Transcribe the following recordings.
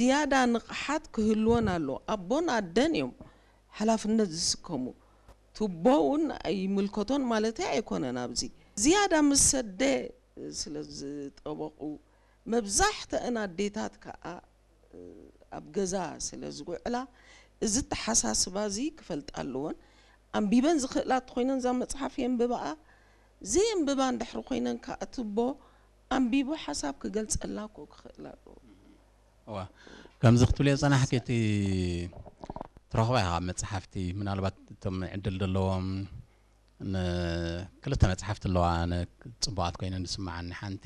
ዝያዳ ንቕሓት ክህልወን ኣለዎ። ኣቦን ኣደን እዮም ሓላፍነት ዝስከሙ። ቱቦ እውን ኣይምልከቶን ማለተይ ኣይኮነን። ኣብዚ ዝያዳ ምስ ሰደ ስለ ዝጠበቑ፣ መብዛሕትአን ኣዴታት ከዓ ኣብ ገዛ ስለ ዝውዕላ፣ እዚ ኣተሓሳስባ እዚ ክፈልጣ ኣለወን። ኣንቢበን ዝኽእላ እንተኾይነን እዛ መጽሓፍ የንብባኣ፣ ዘየንብባ እንድሕሪ ኮይነን ከዓ ቱቦ ኣንቢቡ ሓሳብ ክገልጸላ እኮ ክኽእል ኣለዎ። እዋ፣ ከምዚ ክትብልዮ ዝጸናሕኪ፣ እቲ ትረኽባ ኢኻ ካብ መጽሓፍቲ፣ ምናልባት እቶም ዕድል ዘለዎም ን-፣ ክልተ መጽሓፍቲ ኣለዋ፣ ኣነ ጽቡቓት ኮይነን ዝስምዓኒ። ሓንቲ፣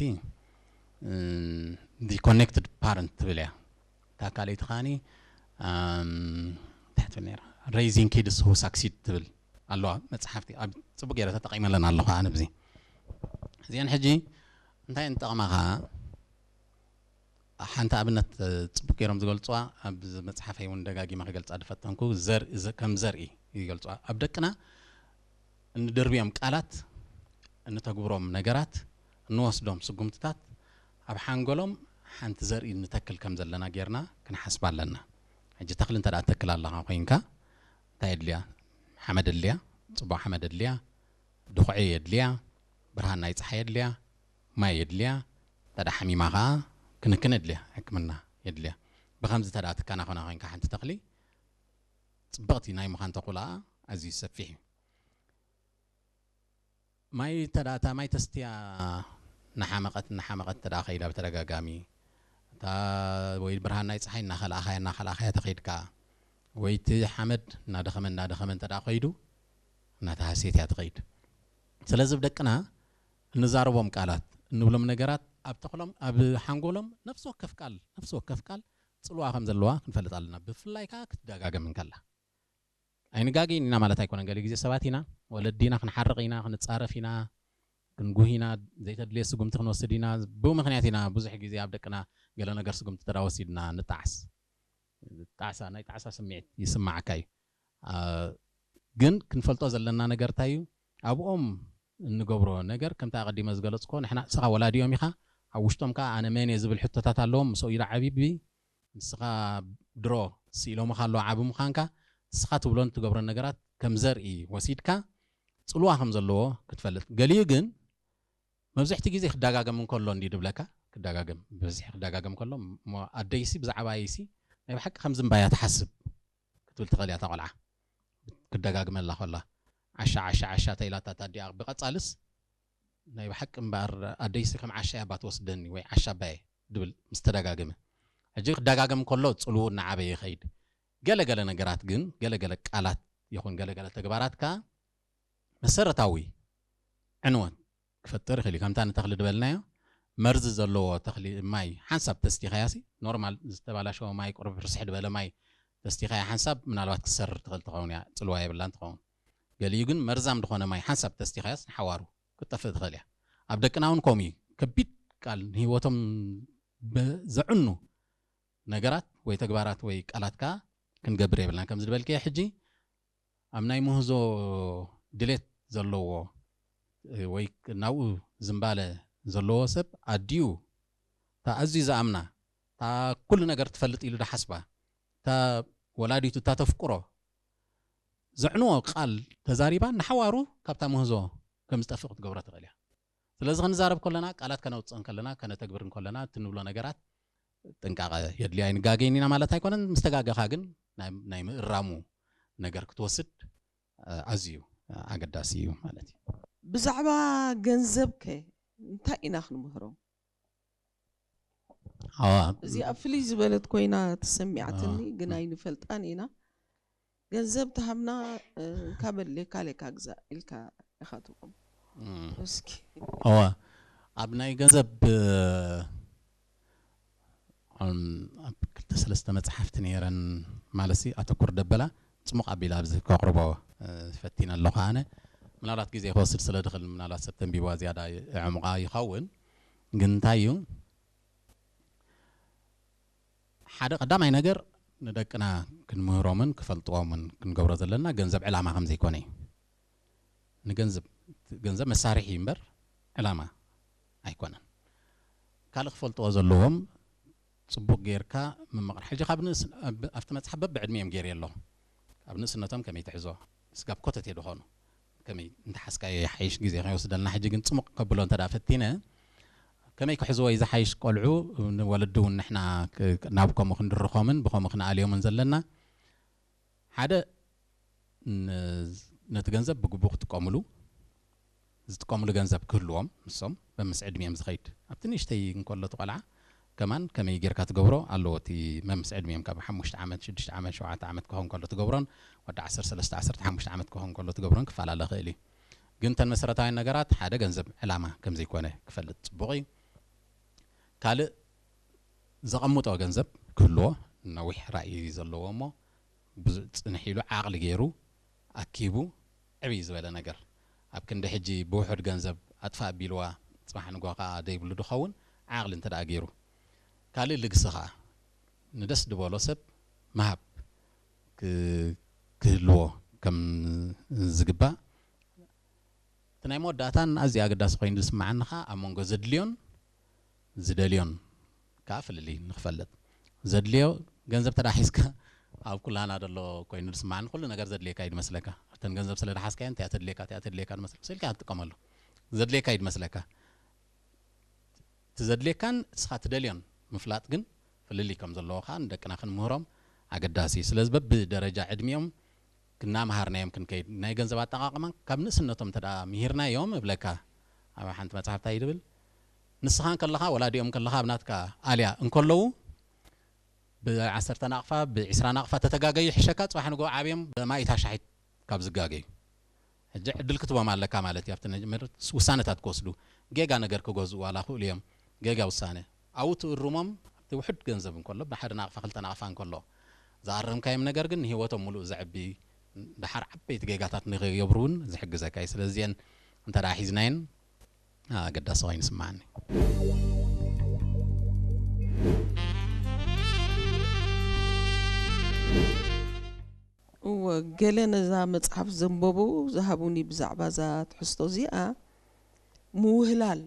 እም፣ The Connected Parent ትብል እያ። እታ ካልኣይቲ ከኣኒ፣ ኣም፣ እንታይ ትብል ነይራ? Raising Kids Who Succeed ትብል ኣለዋ መጽሓፍቲ። ኣብ ጽቡቕ ገይረ ተጠቒመለን ኣለኹ ኣነ ብዚ። እዚአን ሕጂ እንታይ እየን ዝጠቕማኻ? ሓንቲ ኣብነት፣ እ፣ ጽቡቕ ገይሮም ዝገልጽዋ፣ ኣብ መጽሓፈይ እውን ደጋጊመ ክገልጻ ዝፈተንኩ፣ ዘር-፣ ዘ-፣ ከም ዘርኢ ይገልጽዋ። ኣብ ደቅና እንደርብዮም ቃላት፣ እንተግብሮም ነገራት፣ እንወስዶም ስጉምትታት፣ ኣብ ሓንጎሎም ሓንቲ ዘርኢ ንተክል ከም ዘለና ጌርና ክንሓስብ ኣለና። ሕጂ ተኽሊ እንተ ደኣ ትተክል ኣለኻ ኮይንካ፣ እንታይ የድልያ? ሓመድ የድልያ፣ ጽቡቕ ሓመድ የድልያ፣ ድኹዒ የድልያ፣ ብርሃን ናይ ጸሓይ የድልያ፣ ማይ የድልያ፣ እንተ ደኣ ሓሚማ ኸኣ ክንክን የድልያ፣ ሕክምና የድልያ። ብኸምዚ እንተ ደኣ ትከናኸና ኮይንካ ሓንቲ ተኽሊ፣ ጽብቕቲ ናይ ምዃን ተኽእሎኣ ኣዝዩ ሰፊሕ እዩ። ማይ እንተ ደኣ፣ እታ ማይ ተስትያ እናሓመቐት፣ እናሓመቐት እንተ ደኣ ከይዳ ብተደጋጋሚ፣ እታ ወይ ብርሃን ናይ ጸሓይ እናኸልኣኻያ፣ እናኸልኣኻያ ተኸይድካ፣ ወይ እቲ ሓመድ እናደኸመ፣ እናደኸመ እንተ ደኣ ከይዱ፣ እናተሃስየት እያ ትኸይድ። ስለዚ ብደቅና እንዛረቦም ቃላት፣ እንብሎም ነገራት ኣብ ተኽሎም፣ ኣብ ሓንጎሎም ነፍሲ ወከፍ ቃል፣ ነፍሲ ወከፍ ቃል ጽልዋ ከም ዘለዋ ክንፈልጥ ኣለና። ብፍላይ ከኣ ክትደጋገም እንከላ። ኣይንጋገይን ኢና ማለት ኣይኮነን። ገለ ግዜ ሰባት ኢና፣ ወለዲ ኢና፣ ክንሓርቕ ኢና፣ ክንጻረፍ ኢና፣ ክንጉህ ኢና፣ ዘይተድልየ ስጉምቲ ክንወስድ ኢና። ብኡ ምኽንያት ኢና ብዙሕ ግዜ ኣብ ደቅና ገለ ነገር ስጉምቲ እንተ ደኣ ወሲድና ንጣዕስ። ጣዕሳ፣ ናይ ጣዕሳ ስምዒት ይስምዓካ እዩ። አ፣ ግን ክንፈልጦ ዘለና ነገር እንታይ እዩ? ኣብኦም እንገብሮ ነገር፣ ከምቲ ኣቐዲመ ዝገለጽኩዎ፣ ንሕና፣ ንስኻ ወላዲኦም ኢኻ፣ ኣብ ውሽጦም ከኣ ኣነ መን እየ ዝብል ሕቶታት ኣለዎም። ምስኡ ኢሉ ዓብዪ፣ ንስኻ ድሮ ስኢሎምኻ ኣለዉ ዓቢ ምዃንካ፣ ንስኻ ትብሎን ትገብሮን ነገራት ከም ዘርኢ ወሲድካ ጽልዋ ከም ዘለዎ ክትፈልጥ። ገሊኡ ግን መብዝሕቲ ግዜ ክደጋገም እንከሎ እንዲ ድብለካ፣ ክደጋገም፣ ብብዝሒ ክደጋገም ከሎ፣ እሞ ኣደይሲ ብዛዕባ ኣየይሲ ናይ ብሓቂ ከምዚ እምባያ ትሓስብ ክትብል ትኽእል እያ እታ ቆልዓ። ክደጋግመላ ከላ፣ ዓሻ፣ ዓሻ፣ ዓሻ ተኢላታ እታ ኣዲኣ ብቐጻልስ፣ ናይ ብሓቂ እምበኣር ኣደይሲ ከም ዓሻ እያ እባ ትወስደኒ፣ ወይ ዓሻ ኣባየ ድብል ምስ ተደጋገመ። ሕጂ ክደጋገም ከሎ ጽልውኡ እናዓበየ ይኸይድ። ገለ ገለ ነገራት ግን፣ ገለ ገለ ቃላት ይኹን ገለ ገለ ተግባራት ከኣ መሰረታዊ ዕንወት ክፈጥር ይኽእል እዩ። ከምታ ንተኽሊ ድበልናዮ፣ መርዚ ዘለዎ ተኽሊ ማይ ሓንሳብ ተስቲኻያሲ፣ ኖርማል ዝተባላሸወ ማይ፣ ቁሩብ ርስሕ ድበለ ማይ ተስቲኻያ ሓንሳብ ምናልባት ክትሰርር ትኽእል ትኸውን እያ፣ ጽልዋ የብላን ትኸውን። ገሊኡ ግን መርዛም ዝኾነ ማይ ሓንሳብ ተስቲኻያስ ንሓዋሩ ክትጠፍእ ትኽእል እያ። ኣብ ደቅና እውን ከምኡ እዩ። ከቢድ ቃል ንህይወቶም ብ-፣ ዘዕኑ ነገራት ወይ ተግባራት ወይ ቃላት ከኣ ክንገብር የብልናን። ከምዚ ዝበልክዮ ሕጂ ኣብ ናይ ምህዞ ድሌት ዘለዎ፣ እ፣ ወይ ናብኡ ዝምባለ ዘለዎ ሰብ ኣዲኡ፣ እታ ኣዝዩ ዝኣምና፣ እታ ኩሉ ነገር ትፈልጥ ኢሉ ዝሓስባ፣ እታ ወላዲቱ፣ እታ ተፍቅሮ፣ ዘዕንዎ ቃል ተዛሪባ ንሓዋሩ ካብታ ምህዞ ከም ዝጠፍእ ክትገብሮ ትኽእል እያ። ስለዚ ክንዛረብ ከለና፣ ቃላት ከነውጽእ እንከለና፣ ከነተግብር እንከለና፣ እቲ ንብሎ ነገራት ጥንቃቐ የድልዮ። ኣይንጋገይን ኢና ማለት ኣይኮነን። ምስ ተጋገኻ ግን ናይ፣ ናይ ምእራሙ ነገር ክትወስድ፣ እ፣ ኣዝዩ ኣገዳሲ እዩ ማለት እዩ። ብዛዕባ ገንዘብ ከ እንታይ ኢና ክንምህሮም? ኣዋ፣ እዚኣ ፍልይ ዝበለት ኮይና ተሰሚዓትኒ፣ ኣዋ። ግን ኣይንፈልጣን ኢና። ገንዘብ ተሃብና፣ እ፣ እንካ በል ሌካ ሌካ ግዛእ ኢልካ ኢኻ ትብሎም። እም። እስኪ። ኣዋ፣ ኣብ ናይ ገንዘብ፣ እ፣ እም፣ ኣብ ክልተ ሰለስተ መጽሓፍቲ ነይረን፣ ማለትሲ ኣተኩር ደበላ ጽሙቕ ኣቢለ ኣብዚ ከቕርቦ፣ እ፣ ፈቲነ ኣለኹ ኣነ። ምናልባት ግዜ ክወስድ ስለ ድኽእል፣ ምናልባት ሰብ ተንቢብዋ ዝያዳ የዕሙቓ ይኸውን። ግን እንታይ እዩ፣ ሓደ ቀዳማይ ነገር ንደቅና ክንምህሮምን ክፈልጥዎምን ክንገብሮ ዘለና ገንዘብ ዕላማ ከም ዘይኮነ እዩ። ንገንዘብ፣ ገንዘብ መሳርሒ እዩ እምበር ዕላማ ኣይኮነን። ካልእ ክፈልጥዎ ዘለዎም ጽቡቕ ጌርካ ምምቕራብ። ሕጂ ካብ ንእስ-፣ ኣብ-፣ ኣብቲ መጽሓፍ በብዕድሚኦም ገይረ ኣለኹ። ኣብ ንእስነቶም ከመይ ትሕዞ? ስጋብ ኮተቴ ዝኾኑ ከመይ እንተሓዝካዮ ይሓይሽ፣ ግዜ ከይወስደልና። ሕጂ ግን ጽሙቕ ከብሎ እንተ ደኣ ፈቲነ፣ ከመይ ክሕዝዎ እዩ ዝሓይሽ? ቆልዑ ንወለዲ እውን ንሕና ክ-፣ ናብ ከምኡ ክንድርኾምን ብኸምኡ ክንኣልዮምን ዘለና። ሓደ ን-፣ ነቲ ገንዘብ ብግቡእ ክጥቀምሉ፣ ዝጥቀምሉ ገንዘብ ክህልዎም፣ ንሶም መምስ ዕድሚኦም ዝኸይድ፣ ኣብቲ ንእሽተይ እንከሎ እቲ ቆልዓ ከማን ከመይ ጌርካ ትገብሮ ኣለዎ። እቲ መምስ ዕድሚኦም ካብ ሓሙሽተ ዓመት፣ ሽዱሽተ ዓመት፣ ሸውዓተ ዓመት ክኸውን ከሎ ትገብሮን ወዲ ዓሰርተ ሰለስተ፣ ዓሰርተ ሓሙሽተ ዓመት ክኸውን ከሎ ትገብሮን ክፈላለ ይኽእል እዩ። ግን እተን መሰረታውያን ነገራት፣ ሓደ ገንዘብ ዕላማ ከም ዘይኮነ ክፈልጥ ጽቡቕ እዩ። ካልእ ዘቐምጦ ገንዘብ ክህልዎ፣ ነዊሕ ራእይ ዘለዎ እሞ ብዙ ጽንሕ ኢሉ ዓቕሊ ገይሩ ኣኪቡ ዕብይ ዝበለ ነገር፣ ኣብ ክንዲ ሕጂ ብውሑድ ገንዘብ ኣጥፋእ ቢልዋ ጽባሕ ንግሆ ከኣ ደይብሉ ድኸውን ዓቕሊ እንተ ደኣ ገይሩ። ካልእ ልግሲ ከኣ ንደስ ድበሎ ሰብ ምሃብ ክ-፣ ክህልዎ ከም ዝግባእ። እቲ ናይ መወዳእታን ኣዝዩ ኣገዳሲ ኮይኑ ዝስምዓኒ ከኣ ኣብ መንጎ ዘድልዮን ዝደልዮን ከኣ ፍልልይ ንኽፈልጥ። ዘድልዮ ገንዘብ ተዳሒዝካ ኣብ ኩላና ዘሎ ኮይኑ ዝስምዓኒ፣ ኩሉ ነገር ዘድልየካ እዩ ዝመስለካ። እተን ገንዘብ ስለ ደሓዝካየን እቲኣ ተድልየካ፣ እቲኣ ተድልየካ ዝመስለካ፣ ስኢልካ እያ ትጥቀመሉ። ዘድልየካ እዩ ዝመስለካ። እቲ ዘድልየካን ንስኻ ትደልዮን ምፍላጥ ግን ፍልልይ ከም ዘለዎ ከኣ ንደቅና ክንምህሮም ኣገዳሲ እዩ። ስለዚ በብደረጃ ዕድሚኦም ክናምሃርናዮም ክንከይድ፣ ናይ ገንዘብ ኣጠቓቕማ ካብ ንእስነቶም እንተ ደኣ ምሂርናዮም እብለካ፣ ኣብ ሓንቲ መጽሓፍ እንታይ እዩ ዝብል? ንስኻ እንከለኻ፣ ወላዲኦም እንከለኻ ኣብ ናትካ ኣልያ እንከለዉ፣ ብዓሰርተ ናቕፋ፣ ብዒስራ ናቕፋ ተተጋገዩ ይሕሸካ፣ ጽባሕ ንግሆ ዓብዮም ብማኢታ ሻሒት ካብ ዝጋገዩ። ሕጂ ዕድል ክትቦም ኣለካ ማለት እዩ። ኣብቲ ነጅ-፣ መር-፣ ውሳነታት ክወስዱ፣ ጌጋ ነገር ክገዝኡ ዋላ ክእሉ እዮም። ጌጋ ውሳነ። ኣብኡ ትእርሞም፣ ኣብቲ ውሑድ ገንዘብ እንከሎ፣ ብሓደ ናቕፋ፣ ክልተ ናቕፋ እንከሎ፣ ዝኣረምካዮም ነገር ግን ንህይወቶም ምሉእ ዘዕቢ፣ ደሓር ዓበይቲ ጌጋታት ንኸይገብሩ እውን ዝሕግዘካ እዩ። ስለዚ እዚአን እንተ ደኣ ሒዝናየን፣ ኣገዳሲ ኮይኑ ይስምዓኒ። እወ፣ ገለ ነዛ መጽሓፍ ዘንበቡ ዝሃቡኒ ብዛዕባ እዛ ትሕዝቶ እዚኣ ምውህላል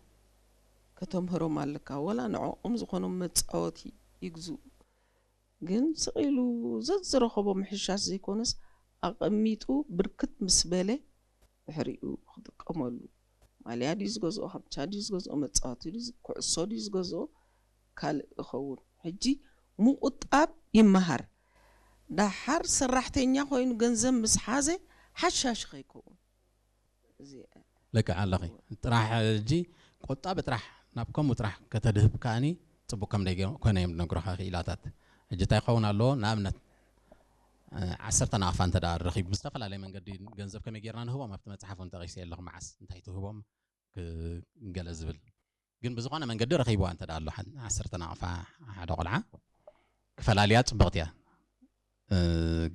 ከተምህሮም ኣለካ። ወላ ንዕኦም ዝኾኖም መጻወቲ ይግዝኡ። ግን ስቕ ኢሉ ዘዝረኸቦ ምሕሻሽ ዘይኮነስ፣ ኣቐሚጡ ብርክት ምስ በለ ድሕሪኡ ክጥቀመሉ። ማልያ ድዩ ዝገዝኦ፣ ካምቻ ድዩ ዝገዝኦ፣ መጻወቲ ድዩ ዝ-፣ ኩዕሶ ድዩ ዝገዝኦ፣ ካልእ ይኸውን። ሕጂ ምቑጣብ ይመሃር። ደሓር ሰራሕተኛ ኮይኑ ገንዘብ ምስ ሓዘ ሓሻሽ ከይከውን። እዚ ልክዕ ኣለኺ። ጥራሕ ሕጂ ቁጣብ ጥራሕ ናብ ከምኡ ጥራሕ ከተድህብ ከኣኒ ጽቡቅ ከም ደይ ኮነ እዮም ዝነግሩኻ ክኢላታት። ሕጂ እንታይ ክኸውን ኣለዎ? ንኣብነት፣ እ፣ ዓሰርተ ናቕፋ እንተ ደኣ ረኺቡ፣ ብዝተፈላለየ መንገዲ ገንዘብ ከመይ ጌርና ንህቦም ኣብቲ መጽሓፍ እውን ጠቒሰ ኣለኹ፣ መዓስ እንታይ ትህቦም ክ-፣ ገለ ዝብል። ግን ብዝኾነ መንገዲ ረኺብዋ እንተ ደኣ ኣሎ፣ ሓን-፣ ዓሰርተ ናቕፋ ሓደ ቆልዓ ክፈላልያ ጽብቕቲ እያ። እ፣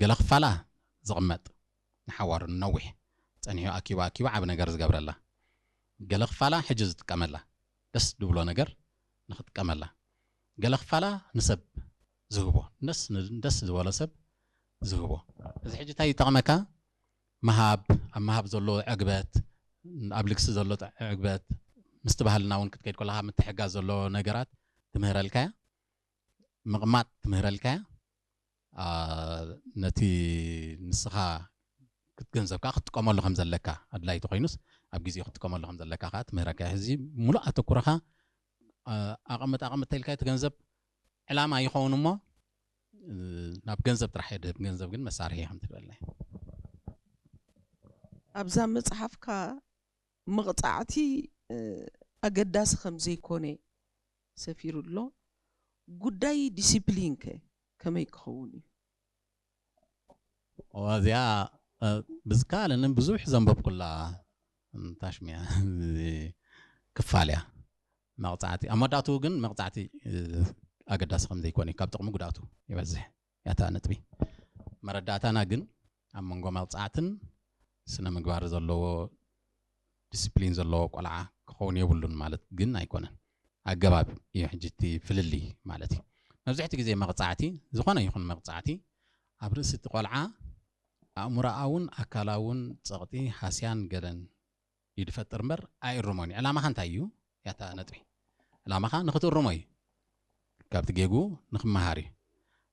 ገለ ክፋላ ዝቕመጥ ንሓዋሩ ንነዊሕ ጸኒሑ ኣኪቡ ኣኪቡ ዓቢ ነገር ዝገብረላ። ገለ ክፋላ ሕጂ ዝጥቀመላ፣ ደስ ዝብሎ ነገር ንኽጥቀመላ። ገለ ክፋላ ንሰብ ዝህቦ፣ ደስ ን-፣ ደስ ዝበሎ ሰብ ዝህቦ። እዚ ሕጂ እንታይ ይጠቕመካ? ምሃብ፣ ኣብ ምሃብ ዘሎ ዕግበት፣ ኣብ ልግሲ ዘሎ ዕግበት፣ ምስቲ ባህልና እውን ክትከይድ ከለኻ ምትሕጋዝ ዘሎ ነገራት ትምህረልካ እያ። ምቕማጥ ትምህረልካ እያ። ኣ፣ ነቲ ንስኻ ክት-፣ ገንዘብ ከኣ ክትጥቀመሉ ከም ዘለካ፣ ኣድላይቲ ኮይኑስ ኣብ ግዜኡ ክትጥቀመሉ ከም ዘለካ ከኣ ትምህረካ እያ። ሕዚ ሙሉእ ኣተኩሮኻ፣ ኣ፣ ኣቐምጥ፣ ኣቐምጥ ተኢልካ እቲ ገንዘብ ዕላማ ይኸውን እሞ፣ እ፣ ናብ ገንዘብ ጥራሕ የድህብ። ገንዘብ ግን መሳርሒ እዩ ከም ትብለና። ኣብዛ መጽሓፍካ መቕጻዕቲ፣ እ፣ ኣገዳሲ ከም ዘይኮነ ሰፊሩ ኣሎ። ጉዳይ ዲሲፕሊን ከ ከመይ ክኸውን እዩ? እዋ፣ እዚኣ፣ እ፣ ብዝከኣለኒ ብዙሕ ዘንበብኩላ፣ ም፣ ታሽሚያ ክፋል እያ። መቕጻዕቲ፣ ኣብ መወዳእትኡ ግን መቕጻዕቲ፣ እ፣ ኣገዳሲ ከም ዘይኮነ እዩ። ካብ ጥቕሚ ጉድኣቱ ይበዝሕ። ያታ ነጥቢ። መረዳእታና ግን ኣብ መንጎ መቕጻዕትን ስነ ምግባር ዘለዎ፣ ዲስፕሊን ዘለዎ ቆልዓ ክኸውን የብሉን ማለት ግን ኣይኮነን። ኣገባብ እዩ ሕጂ እቲ ፍልልይ ማለት እዩ። መብዛሕትኡ ግዜ መቕጻዕቲ፣ ዝኾነ ይኹን መቕጻዕቲ፣ ኣብ ርእሲ እቲ ቆልዓ ኣእምሮኣውን ኣካላውን ጸቕጢ፣ ሃስያን ገለን እዩ ዝፈጥር እምበር ኣይእርሞን እዩ። ዕላማኻ እንታይ እዩ? ያታ ነጥቢ። ዕላማኻ ንኽትእርሞ እዩ። ካብቲ ጌጉ ንክመሃር እዩ።